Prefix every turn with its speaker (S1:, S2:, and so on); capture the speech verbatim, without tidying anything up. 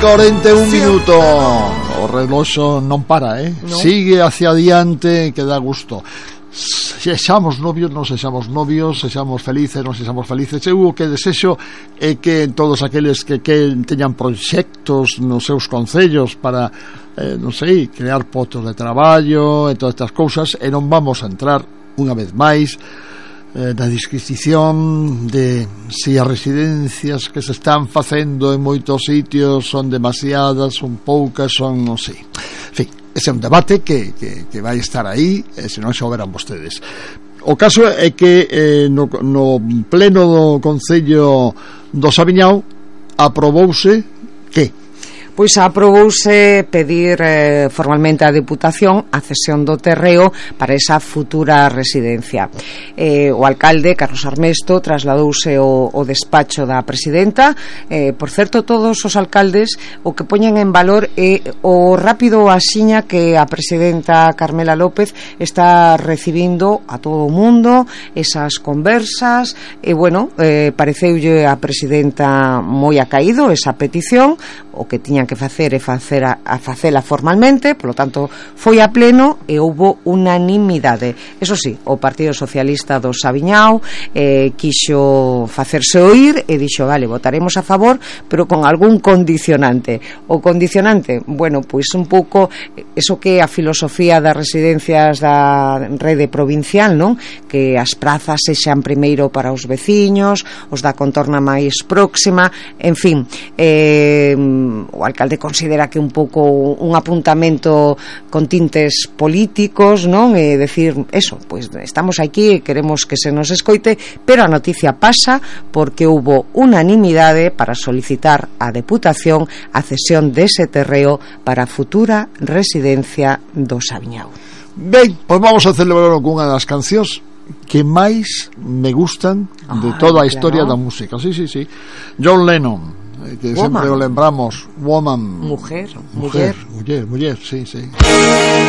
S1: cuarenta y un minutos. O reloxo non para, eh? No. Sigue hacia adiante, que dá gusto. Sexamos novios, non sexamos novios, sexamos felices, non sexamos felices. Eu o que desexo é que todos aqueles que, que teñan proxectos nos seus concellos para, eh, non sei, crear postos de traballo e todas estas cousas, e non vamos a entrar unha vez máis eh, na disquisición de se as residencias que se están facendo en moitos sitios son demasiadas, son poucas, son non sei. En fin, ese é un debate que, que, que vai estar aí, e se non xa o verán vostedes. O caso é que eh, no, no pleno do Concello do Saviñao aprobouse que
S2: Pois aprobouse pedir eh, formalmente á Deputación a cesión do terreo para esa futura residencia. Eh, o alcalde, Carlos Armesto, trasladouse o, o despacho da presidenta. Eh, por certo, todos os alcaldes o que poñen en valor é o rápido asiña que a presidenta Carmela López está recibindo a todo o mundo, esas conversas, e bueno, eh, pareceulle a presidenta moi acaído esa petición. O que tiñan que facer é facer a, a facela formalmente, polo tanto foi a pleno e houbo unanimidade. Eso sí, o Partido Socialista do Saviñao eh, quixo facerse oír e dixo, vale, votaremos a favor, pero con algún condicionante. O condicionante, bueno, pois un pouco eso que é a filosofía das residencias da rede provincial, non? Que as prazas sexan primeiro para os veciños, os da contorna máis próxima, en fin, eh o alcalde considera que un pouco un apuntamento con tintes políticos, non? É decir, eso, pois estamos aquí e queremos que se nos escoite, pero a noticia pasa porque houbo unanimidade para solicitar á Deputación a cesión dese terreo para a futura residencia do Saviñao.
S1: Ben, pois vamos a celebrarlo con unha das cancións que máis me gustan de
S2: ah,
S1: toda a historia
S2: claro.
S1: da música. Sí, sí, sí. John Lennon, que
S2: Woman.
S1: sempre o lembramos, Woman,
S2: Mujer,
S1: mujer,
S2: muller,
S1: muller, muller, sí, sí.